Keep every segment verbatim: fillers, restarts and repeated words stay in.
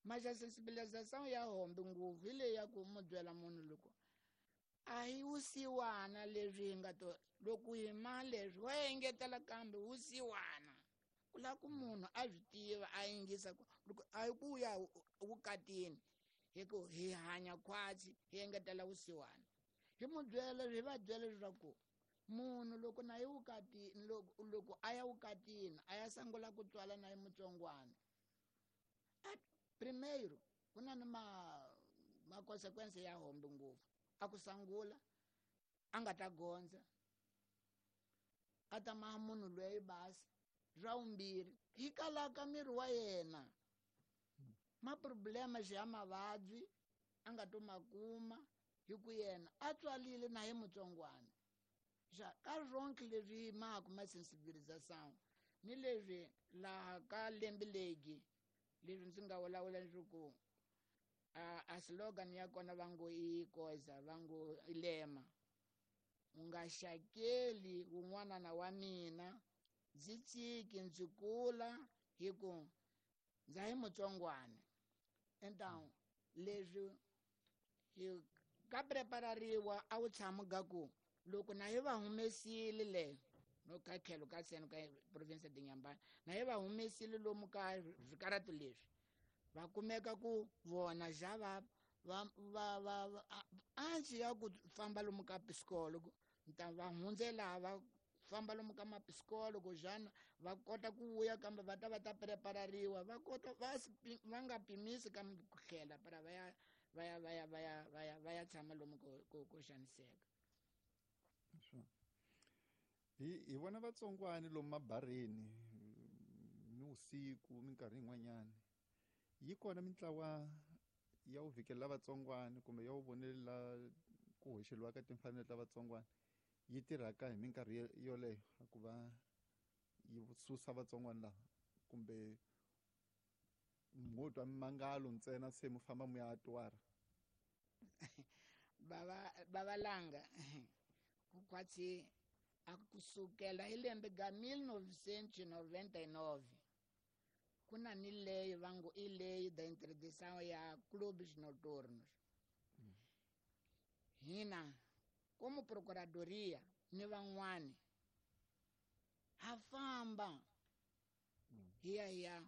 Mas a sensibilização ya hombe ngopfu hi leyi ya ku mu byela munhu loko a hi wusiwana leswi hi nga to loko hi ma leswi wa engetela kambe wusiwana ku lava ku munhu a swi tiva a yingisa ku loko a hi ku ya vukatini hi ku hi hanya khwatsi hi engetela vusiwana hi mu byela hi va byela leswaku munhu loko na yi vukatini loko loko a ya vukatini a ya sungula ku tswala na yi mutsongwana a primeiro ku na ni ma ma consequence ya hombe ngopfu a ku sangula a nga ta gondza a ta maha munhu loyi basi swa vumbirhi hi kalaka miri wa yena ma problema ya mavabyi a nga to ma kuma hi ku yena a tswalile na hi mutsongwana xa ka swonke leswi maku ma sensibilização ni leswi laha ka lembe legi leswi ndzi nga vulavula leswaku a, a slogan ya kona va ngo i koza va ngo i lema u nga xakeli wun'wana na wa mina ndzi tshiki ndzi kula hi ku ndza hi mutsongwana então leswi hi ka preparariwa a wu tshami ga ku loko na hi va humesile le no ka tlhelo ka seno ka province de Inhambane na hi va humesile lomu ka swikaratu leswi va kumeka ku vona ja va va va va ansi ya ku famba lomu ka psikologo nta va hundzela va famba lomu ka mapsikologo jana va kota ku vuya kambe va ta va ta preparariwa va kota va va nga pimisi kambe ku tlhela para va ya va ya va ya va ya va ya va ya tshama lomu ko ko ko xaniseka. Hi hi vona vatsongwani lomu mabareni ni vusiku minkarhi yin'wanyana yi kona mintlawa ya wu vhikelela vatsongwani kumbe ya wu vonelela ku hoxeliwa ka timfanelo ta vatsongwani yi tirhaka hi minkarhi yoleyo ku va yi susa vatsongwani lava kumbe mo twa mimangalo ntsena se mu famba mu ya twara baba babalanga ku kwatsi a kusukela hi lembe ga mil novecentos noventa e nove ku na ni lei va ngo i lei da interdição ya clubes noturnos. Hina como procuradoria ni van'wani ha famba hi ya hi ya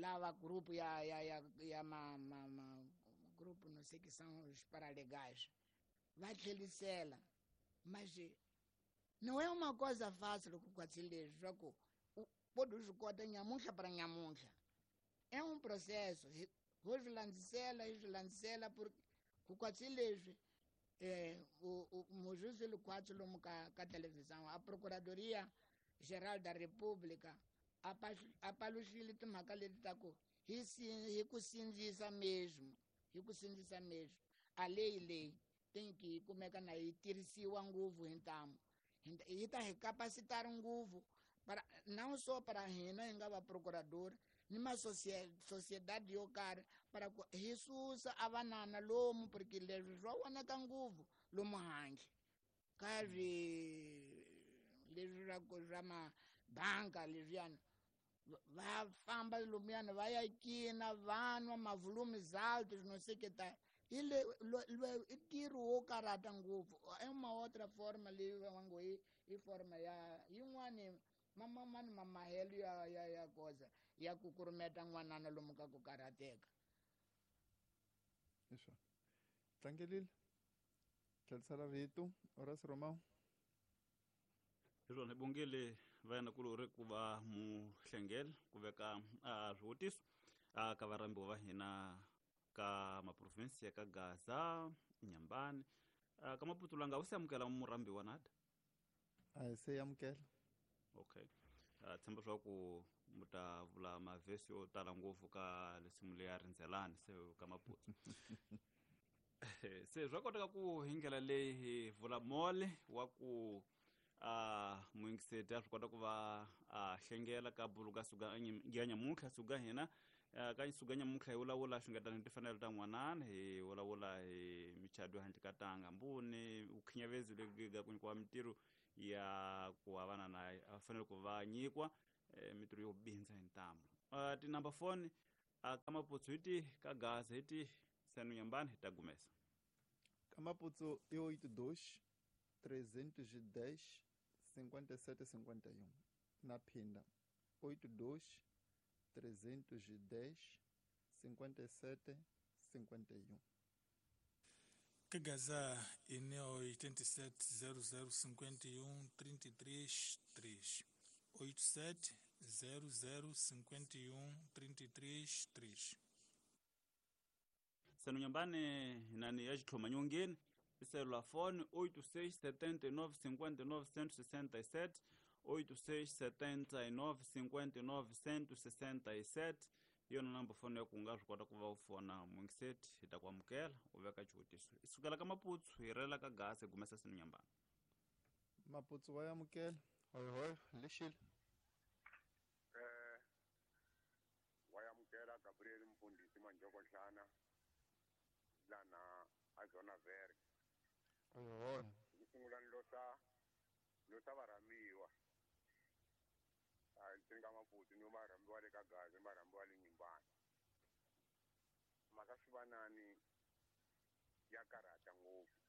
lava grupo ya ya ya ya ma ma, ma grupo não sei que são os paralegais va tlhelisela mas não é uma coisa fácil ku kwatsi leswi swa ku pode swi kota nyamuntlha para nyamuntlha é um processo ho swi landzisela hi swi landzisela porque ku kwatsi leswi eh o mujuzi lukwatsi lomu ka ka televisão a procuradoria geral da república a paluxile timhaka leti ta ku hi hi ku sindzisa mesmo hi ku sindzisa mesmo a leyi leyi tem que kumeka na yi tirhisiwa ngopfu hi ntamu yi ta hi capacitar ngopfu para não só para hina hi nga va procurador ni ma sociedade yo karhi para ku hi susa a vanana lomu porque leswi swa vonaka ngopfu lomu handle ka swi leswi swa ku swa mabanka leswiyani va famba lomuyana va ya cina va nwa mavolumes altos não sei que tá hi le i ntirho wo karhata ngopfu é uma outra forma leyi va ngo i i forma ya yin'wani mamamani mamahelo ya ya ya koza ya ku kurumeta n'wanana lomu ka ku karhateka. Leswo tlangelile tlhelisela rito Horace Romão. Hi swona hi bongile va yena kulori ku va muhlengeli ku veka a swivutiso a ka varhambiwa va hina ka maprovinsi ya ka Gaza, Inhambane, ka Maputo langa u se amukela murhambiwa nada? A hi se amukela. Okay. Uh, tshemba swa ku mu ta vula mavhesi yo tala ngopfu ka lesimu leya rindzelani se ka Maputo. Se swa koteka ku hi ndlela leyi hi vula mole wa ku a muyingiseti a swi kota ku va a hlengela ka buluka suka ya nyamuntlha suka hina ka suka nyamuntlha hi vulavula xungetana hi timfanelo ta n'wanana hi vulavula hi michado handle ka tanga mbuni vukhinyavezi lebyi ga ku nyikiwa mintirho ya ku va vana na a fanele ku va nyikiwa mintirho yo bindza hi ntamu. Tinumber phone A ka Maputsu hi tihi, ka Gaza hi tihi, Seno Nyambani hi ta gumesa. Ka Maputsu i oito dois, trezentos e dez, cinquenta e sete, cinquenta e um. Na Phinda, oito dois, trezentos e dez, cinquenta e sete, cinquenta e um. Ka Gaza ine oitenta e sete, zero zero, cinquenta e um, trinta e três, três. oito sete, zero zero, cinquenta e um, trinta e três, três. Seno Nyambani nani ya xitlhoma nyongeni i selulafoni oito seis, setenta e nove, cinquenta e nove, cento e sessenta e sete, oito seis, setenta e nove, cinquenta e nove, cento e sessenta e sete. Hi yona namba foni ya ku nga swi kota ku va u fona mungiseti hi ta ku amukela u veka xivutiso. Hi sukela ka Maputsu hi rela ka Gaza hi gumesa Seno Nyambani. Maputsu wa amukela. Hoyo hoyo, lexile. Eh, wa amukela Gabriel Mfundisi Manjokohlana lana a Zona Verde. Hoyo hoyo. Ku sungula ni losa losa varhamiwa. A ndzi nga Maputsu ni varhamiwa le ka Gaza, ni varhamiwa le Nyimbani. Mhaka swivanani ya karhata ngopfu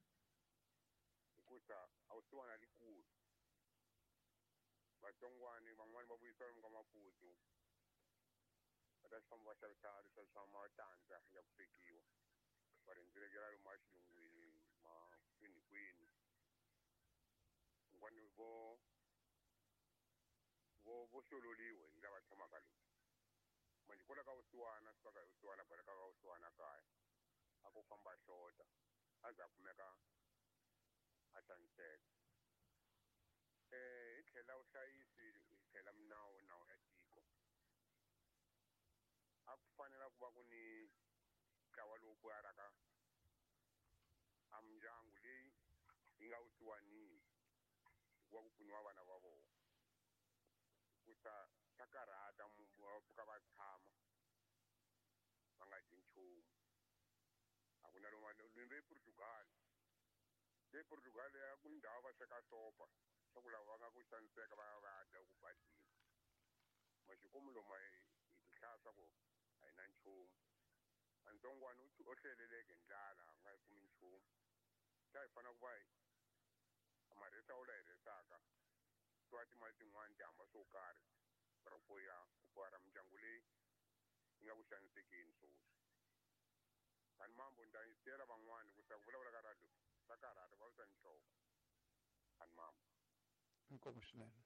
hikusa a wu siwana likulu. Vatsongwani van'wani va vuyisiwa lomu ka Maputsu va ta famba va xavisa leswiya swa matandza ya ku swekiwa, va rhendzelekela lomu a xilungwini ma kwini kwini. Van'wani vo vo vo hlololiwe hi lava tshamaka lomu. Manjhe kwala ka vusiwana swi faka hi vusiwana baleka ka vusiwana kaya a ku famba hlota a za a kumeka a xaniseka. Eh, hi tlhela vuhlayisi hi tlhela minawu nawu ya tiko. A ku fanela ku va ku ni ntlawa lowu pfuaraka a mindyangu leyi yi nga vusiwanini hikuva ku pfuniwa vana va vona. Hikusa swa karhata va pfuka va tshama va nga dyi nchumu. A ku na lomu ni le Portugal. Le Portugal ya ku ndhawu va sweka sopa swa ku lava va nga ku xaniseka va ya va ya dya ku badini. Maxikomu lomu hi tihlaya swa ku a hi na nchumu. A ntsongwana u o hleleleke ndlala a nga yi kumi nchumu. Xa hi fanele ku va hi marhesa wu la hi rhesaka swa timali tin'wani ti hamba swo karhi ra ku ya ku pfara mindyangu leyi yi nga ku xanisekeni sweswi. Kani mambo ni ta yisela van'wani ku sa ku vulavula ka radio swa karhata va visa nhloko. Kani mambo. Inkomu swinene.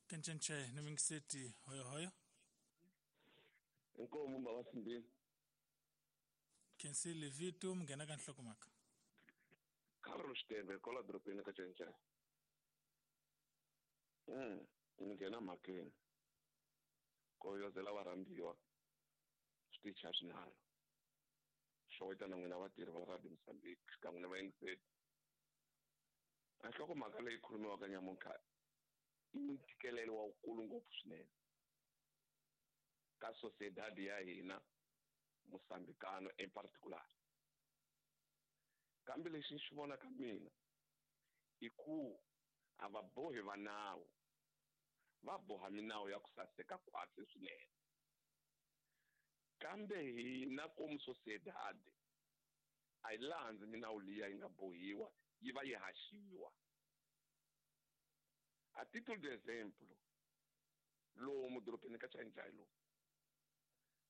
Kencenche ni mingiseti hoyo hoyo. Inkomu baba Sindini. Kensile Vitu mngena ka nhlokomhaka. Carlos Tembe kola dropeni ka Chenche. Mm, nghena mhakeni. Koyozela varhambiwa switichi a swinharhu. Xoweta na n'wina vatirhi va Radio Mozambique xikan'we na vayingiseri. A nhlokomhaka leyi khulumiwaka nyamuntlha i ntikelelo wa wukulu ngopfu swinene ka sociedad ya hina Mozambicano in particular. Kambe lexi ni xi vonaka mina i ku a va bohi va nawu, va boha minawu ya ku saseka khwatsi swinene. Kambe hina komu sociedad a yi landzi minawu liya yi nga bohiwa yi va yi haxiwa. A título de exemplo, lomu dorobeni ka Chainjai lomu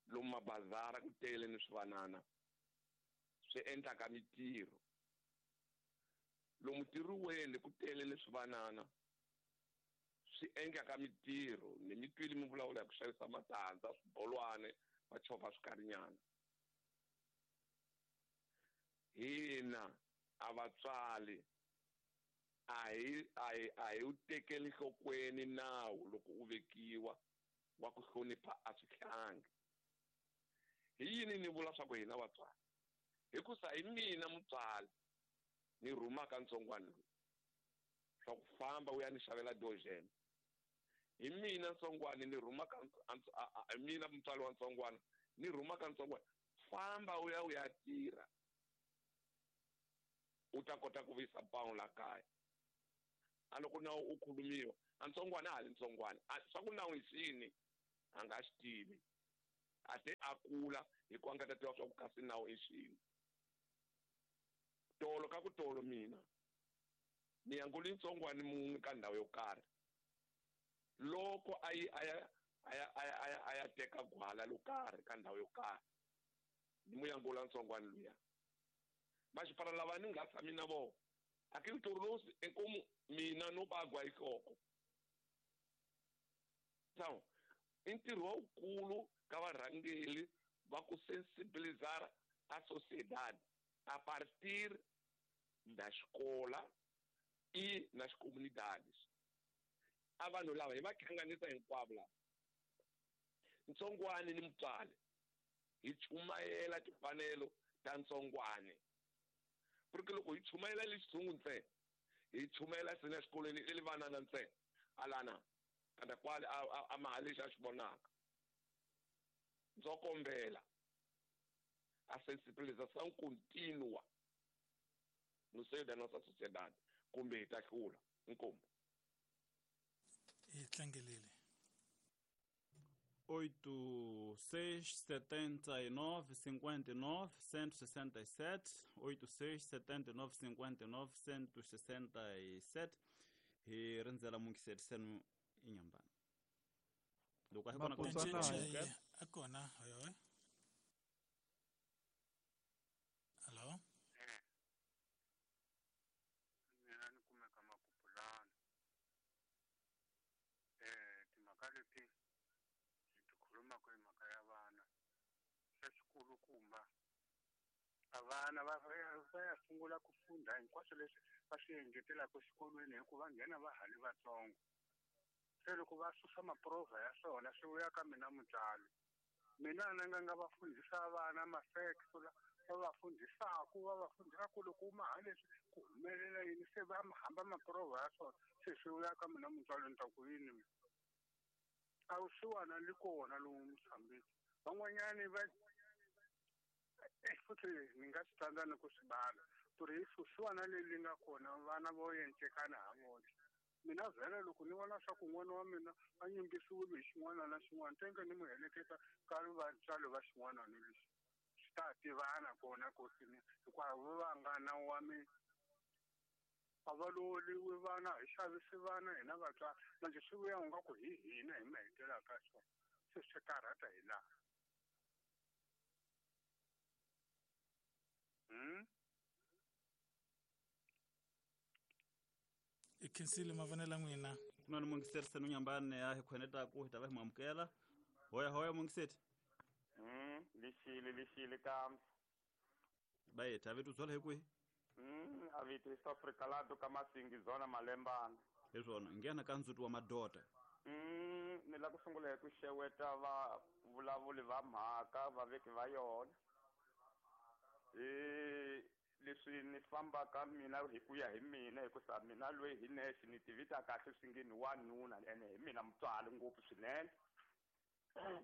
lomu mabazara ku tele ni swivanana swi endlaka mitirho, lomu tirhiweni ku tele ni swivanana swi endlaka mitirho. Ni mi twile mi vulavula hi ku xavisa matandza, swibolwane, va chovha swikarinyana. Hina a vatswari a hi a hi a hi wu tekeli nhlokweni nawu loko u vekiwa wa ku hlonipha a swihlangi. Hi yini ni vula swa ku hina vatswari? Hikusa hi mina mutswari ni rhumaka ntsongwana lowu swa ku famba u ya ni xavela dojene. Hi mina ntsongwana ni rhumaka hi mina mutswari wa ntsongwana ni rhumaka ntsongwana famba u ya u ya tirha u ta kota ku vuyisa pawulo la kaya. A loko nawu u khulumiwa a ntsongwana a ha ri ntsongwana swa ku nawu hi xini a nga xi tivi. A te a kula hi ku a nga ta tiva swa ku kasi nawu i xini. Tolo ka ku tolo mina ni yanguli ntsongwani mun'we ka ndhawu yo karhi. Loko a yi a ya a ya a ya a ya teka gwala lo karhi ka ndhawu yo karhi, ni mu yangula ntsongwani luya. Maxipara lava ni nga tshami na vona aquilo tornou-se em como mina no bagua hi nhloko. Então, i ntirho wukulu ka varhangeri va ku sensibilizar a sociedade a partir da escola e nas comunidades. A vanhu lava hi va hlanganisa hinkwavo lava, ntsongwani ni mutswari, hi chumayela timfanelo ta ntsongwani. Porque loko hi chumayela le xitshungu ntsena, hi chumayela sina exikolweni i le vanana ntsena, alana kanda kwale a a maha lexi a xi vonaka. Ndzo kombela a sensibilização contínua no seio da nossa sociedade, kumbe hi ta hlula. Inkomu. Hi tlangelele. oito seis setenta e nove cinquenta e nove cento e sessenta e sete, oito seis setenta e nove cinquenta e nove cento e sessenta e sete. Hi rindzela mungiseti senu inyambana. Loko a hi kona ka a kona hoyo. Hello. Eh. Mina ni kumeka Makupulana. Eh, timhaka leti hi ti khulumaka hi mhaka ya vana. Xa xikulukumba a vana va va ya sungula ku funda hinkwaswo leswi va swi engetelaka exikolweni hikuva nghena va ha ri vatsongo. Se loko va susa maprovha ya swona swi vuya ka mina mutswari. Mina ni nga nga va fundhisa vana ma-facts la va va fundhisaku va va fundhisa ku loko u maha leswi ku humelela yini, se va hamba maprovha ya swona se swi vuya ka mina mutswari ni ta ku yini mina. A vusiwana li kona lowu Mozambique. Van'wanyani va futhi ni nga swi tsandza ni ku swi bala ku ri vusiwana leri nga kona vana vo encekana ha vona. Mina vhele loko ni vona swa ku n'wana wa mina a nyimbisiwile hi xin'wana na xin'wana, tenge ni n'wi heleketa ka vatswari va xin'wana ni lexi swi ta tivana kona kosini, hikuva va nga na wa mina a va lovoliwi vana, hi xavisi vana hina vatswari. Manje swi vuya u nga ku hi hina hi ma hetelaka swona, se swi karhata hi laha. Hmm? I khensile mavonelo n'wina. Ku na ni mungiseti senu nyambani ya hi khwenetaku hi ta va hi mu amukela. Hoya hoya mungiseti. Mm, lixile lixile kambe. Bayethu a vito byala hi kwihi? Mm, a vito East Africa laha ka Masingi zona Malembana. Hi swona, nghena ka ndzuti wa madota. Mm, ni la ku sungula hi ku xeweta va vulavuli va mhaka vaveki va yona. Eh, leswi ni fambaka mina hi ku ya hi mina hikusa mina loyi hi nexe ni tivita kahle swi nge ni wanuna ene hi mina mutswari ngopfu swinene.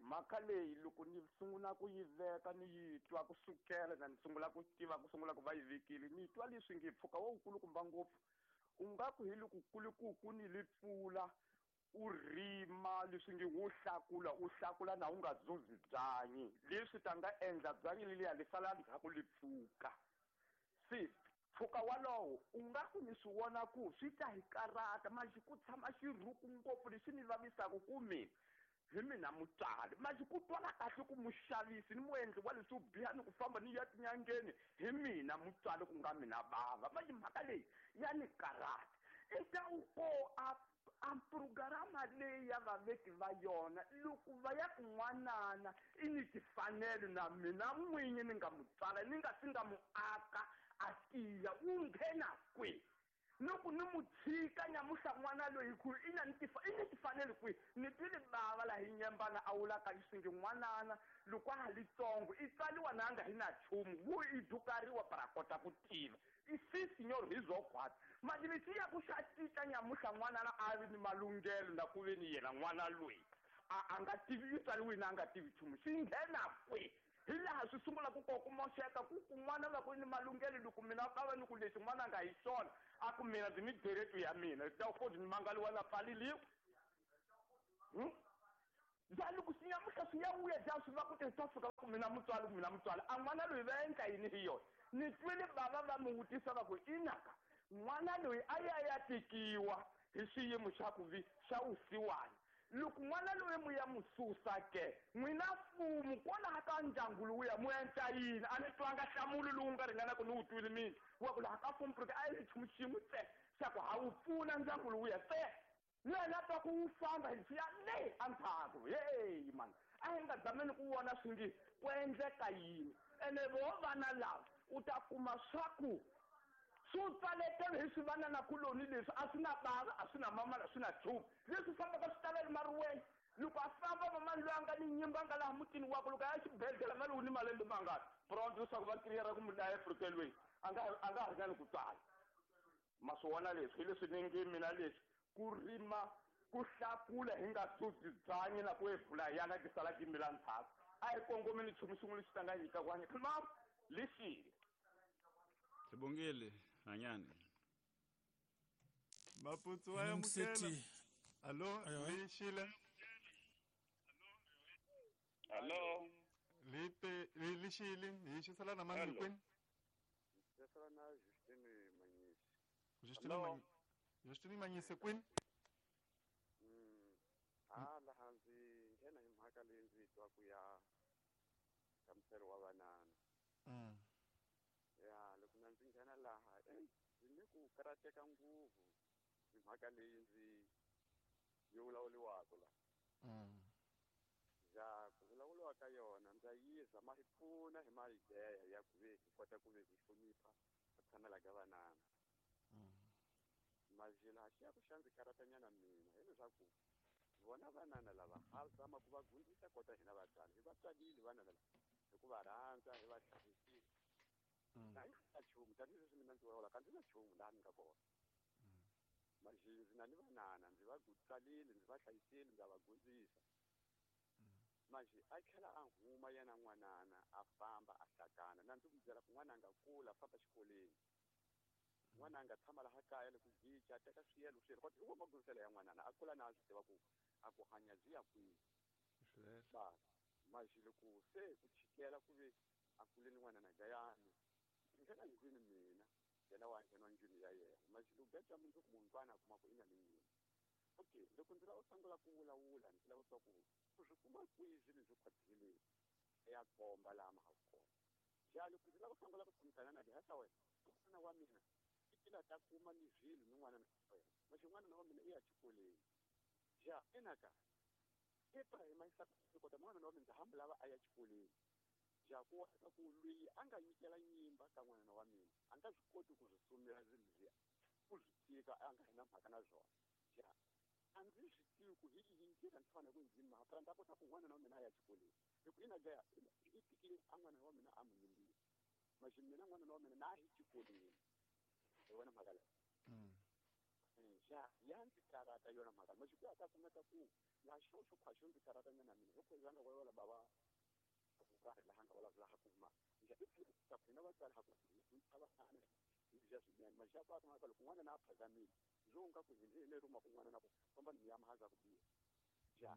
Mhaka leyi loko ni sungula ku yi veka ni yi twa kusukela na ni sungula ku tiva ku sungula ku va yi vekile, ni twa leswi nge mpfhuka wo wukulukumba ngopfu u nga ku hi loko kulukuku ni li pfula u rima leswi nge wo hlakula u hlakula na u nga zuzi byanyi leswi ta nga endla byanyi leliya li sala ndzhaku li pfuka. Se mpfhuka walowo u nga ku ni swi vona ku swi ta hi karata manje ku tshama xirhuku ngopfu leswi ni vavisaka ku mina hi mina mutswari. Manje ku twala kahle ku muxavisi ni muendli wa leswo biha ni ku famba ni ya tinyangeni hi mina mutswari ku nga mina bava. Manje mhaka leyi ya ni karata. I ta u ko a a programa leyi ya vaveki va yona loko va ya kun'wanana i ni timfanelo na mina n'winyi ni nga mutswala ni nga si nga mu aka a tiya wu nghena kwihi. Loko ni mu tshika nyamuhla n'wana loyi ku i na ni i ni timfanelo kwihi. Ni twile bava laha hi nyembana a wulaka leswi nge n'wanana loko a ha litsongo i tswariwa na nga hi na nchumu wu i dukariwa para kota ku tiva i si senhor hi byo khwatsi. Manje lexi ya ku xa cinca nyamuhla n'wanana a vi ni malunghelo na ku ve ni yena n'wana loyi a a nga tivi i tswariwile a nga tivi nchumu xi nghena kwihi. Hi laha swi sungula ku ku moxeka ku kun'wana va ku ni malunghelo loko mina ka va ni ku lexi n'wana nga hi xona a ku mina ndzi ni direto ya mina ta ku ni mangaliwa na pfaleliwa. Hmm? Ja loko swi nyamuhla swi ya vuya ja swi va ku te swa fika ku mina mutswari ku mina mutswari a n'wana loyi va endla yini hi yona ni twile bava va mi vutisa va ku inaka n'wana loyi a ya ya tekiwa hi xiyimo xa ku vi xa vusiwana loko n'wana loyi mu ya mu susa ke n'wina mfumo kwalaha ka ndyangu lowuya mu endla yini a ni twanga nhlamulo lowu nga ringanaka ni wu twile mina wa ku laha ka mfumo porque a yi nchumu xin'we ntsena xa ku ha wu pfuna ndyangu lowuya ntsena yena twa ku wu famba hi swi ya le endzhaku heyi mani a hi nga zameni ku vona swi nge ku endleka yini ene vo vana lava u ta kuma swa ku swi pfaletele hi swi vananakuloni leswi a swi na bava a swi na mamana a swi na nchumu leswi fambaka swi talele mariweni loko a famba mamani loyi a nga ni nyimba a nga laha mutini wakwe loko a ya xibedhlele nga lowu ni malembe mangani pronto leswaku va kiriyera ku mu dlaya efrikelweni a nga a nga ringani ku tswala ma swi vona leswi hi leswi ni nge mina leswi ku rima ku hlakula hi nga susi byanyi na ku evula yana ti sala ti mila ndzhaku a hi kongomeni nchumu xin'we lexi ta nga nyika ku hanya ma lexile Sibongile hanyani Maputsu wa amukela Allo lexile Allo Lipe lexile hi xisala na mani kwini Xisala na Justine Manyisi Justine Manyisi Justine Manyisi kwini Mm ah laha ndzi nghena hi mhaka leyi ndzi twa ku ya nhlamuselo wa vanana Mm ya loko na ndzi nghena laha eh ndzi ni ku karateka ngopfu hi mhaka leyi ndzi yi vulavuriwaka la Mm ya ku vulavuriwa ka yona ndza yiza ma hi pfuna hi maideya ya ku ve hi kota ku ve hi hlonipha ku tshamela ka vanana Mm mazila xi ya ku xa ndzi karatanyana mina hileswaku vona vanana lava ha zama ku va gundisa kota hina vatswari hi va tswalile vana lava hi ku va rhandza hi va hlayisile na hi na nchumu tanihileswi mina ndzi vulavulaka ndzi na nchumu laha ni nga kona mazhi ndzi na ni vanana ndzi va tswalile ndzi va hlayisile ndza va gundzisa mazhi a tlhela a huma yena n'wanana a famba a hlakana na ndzi ku byela ku n'wana a nga kula a famba xikolweni n'wana a nga tshama laha kaya loko gica a teka swiyelo swiyelo kodwa hi wo magundziselo ya n'wanana a kula na a swi tiva ku a ku hanya byi ya kwihi ba mazhi loko se ku chikela ku ve a kuleni n'wanana gayani nghena ndlwini mina yena wa nghena ndlwini ya yena mazhi loko gaca mundzuku munhu a kuma ku i na ni nyimba okay loko ndzi lava ku sungula ku vulavula ndzi lava swa ku u swi kuma kwihi swilo leswi khwathile ya komba laha ma ha kona ja loko ndzi lava ku sungula ku tshamisana na dihasa wena n'wana wa mina i tila ta kuma ni swilo ni n'wana na wena maxi n'wana wa mina i ya xikolweni ja enaka Ibrahim a yisa kota n'wana wa mina ndza hamba lava a ya xikolweni ja ku wa ku loyi a nga nyikela nyimba ka n'wana wa mina a nga swi koti ku swi sumela swilo leswiya ku swi tika a nga hi na mhaka na swona ja a ndzi swi tivi ku hi yihi ndlela ndzi fanele ku ndzi mhaka ndza kota ku n'wana wa mina a ya xikolweni hi ku ina ja i tikile a n'wana wa mina a mu nyimbile maxi mina n'wana wa mina na hi xikolweni hi vona mhaka leyi ja ya ndzi karata yona mhaka maxi ku ya ta kumeka ku laha xo xo khwa xo ndzi karata nyana mina hi ku va nga vulavula bava ku karhi laha nga vulavula ha kuma ja i ta ku hina vatswari ha ku hi va ana hi bya swinene maxi ya ku a kumeka loko n'wana na a phazamile byo nga ku hi ni ruma kun'wana na ku famba ni ya mahaza ku biha ja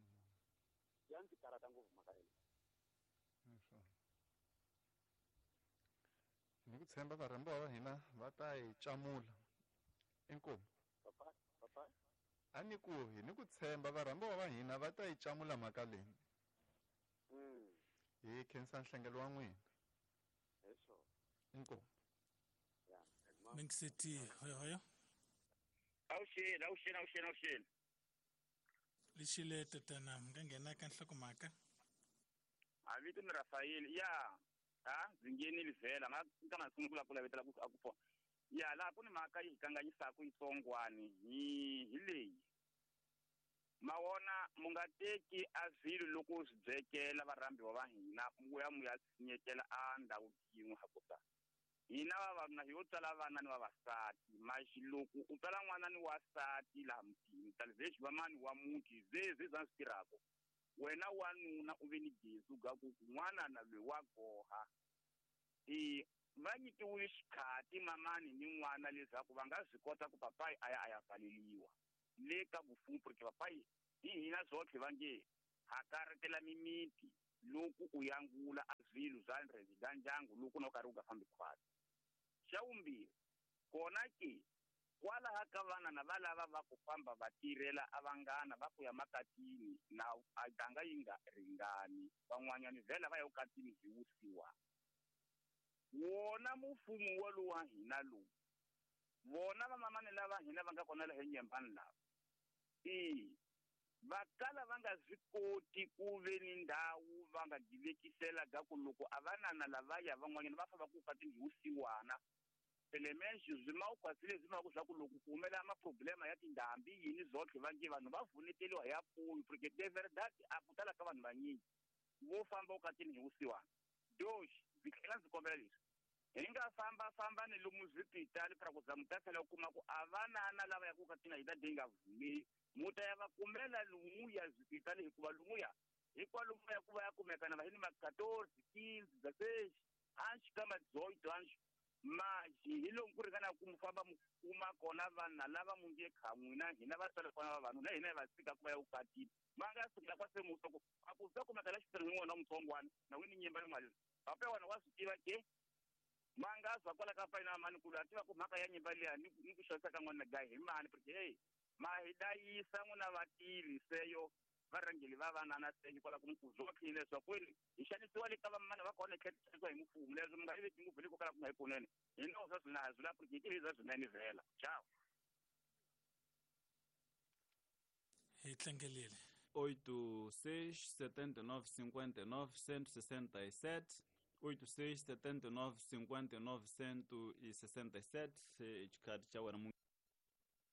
ya ndzi karata ngopfu mhaka leyi ni ku tshemba varhambiwa va hina va ta hi camula inkomu papa papa a ni ku hi ni ku tshemba varhambiwa va hina va ta hi camula mhaka leyi mm hi khensa nhlengelo wa n'wina eswo inkomu ya Mingiseti hoyo hoyo awuxeni awuxeni awuxeni awuxeni lexile tatana mi nga nghena ka nhlokomhaka a vito ni Rafael ya ha ndzi nghenile vhela nga ka na sungula ku lavetela ku a ku pfuna ya laha ku ni mhaka yi hi kanganyisaka yitsongwani hi hi leyi ma wona mu nga teki a swilo loko swi byekela varhambiwa va hina mu ya mu ya tshinyekela a ndhawu yin'we hakusa hina vavanuna hi yo tswala vana ni vavasati maxi loko u tswala n'wana ni wasati laha mutini talivexi va mani wa muti zezwe bya swi tirhaka wena wanuna u ve ni gezi ga ku n'wana na loyi wa goha i va nyikiwile xikhati mamani ni n'wana leswaku va nga swi kota ku papayi a ya a ya pfaleliwa le ka vufumu porque papayi hi hina zwotlhe va nge Hakaretela mimiti loko u yangula a swilo swa ndzi ndyangu loko na u karhi u nga fambi khwatsi. Xa vumbirhi kona ke kwalaha ka vana na va lava va ku famba va tirhela a vanghana va ku ya makatini na a ganga yi nga ringani van'wanyani vhela va ya ukatini hi wusiwa. Wona mufumo wa lowu wa hina lowu vona vamamani lava hina va nga kona laha nyembani lava e va kala va nga swi koti ku ve ni ndhawu va nga divekisela ga ku loko a vanana lavaya van'wanyana va famba ku ukatini hi wusiwana. Elementos zwi zwi ma swa ku loko ku humela maproblema ya tindhambi yini zotlhe va nge vanhu va vuneteliwa hi apfuyo porque de verdade a ku tala ka vanhu vanyingi vo famba ukatini hi wusiwana. Dox ndzi tlhela ndzi kombela leswi hi nga famba famba ni lomu swipitali pra ku za mu ta tlhela u kuma ku a vanana lava ya ku ukatini hi ta de nga vumeli mu ta ya va kumela lumuya swipitali hikuva lumuya hikwalomu ya ku va ya kumekana va hi ni ma quatorze quinze dezesseis anxi ka ma dezoito anxi maji hi lomu ku ringana ku mu famba mu kuma kona vanhu lava mu nge kha n'wina hina va tswala kona vavanuna hina hi va tshika ku va ya vukatini va nga sukela kwa semusa ku a ku za kumeka la xipirhi n'wana mutsongwana na wini nyimba ni mali pape wena wa swi tiva ke ma nga zwa kwala ka fayina mani ku a tiva ku mhaka ya nyimba liya ni ni ku xavisa ka n'wana gayi hi mani porque hey ma hi dayisa n'wina vatirhi seyo varhangeli va vanana seyo kwala ku mukuzwa khini leswaku kweli hi xanisiwa le ka vamana va kona tlhela xanisiwa hi mfumo leswi mi nga yi ngopfu le ko kala ku nga yi kunene hi no swa swina swi la porque hi swa swinene vhela ciao hi tlangelele oito seis setenta e nove cinquenta e nove cento e sessenta e sete oito seis setenta e nove cinquenta e nove cento e sessenta e sete xikhati xa wena.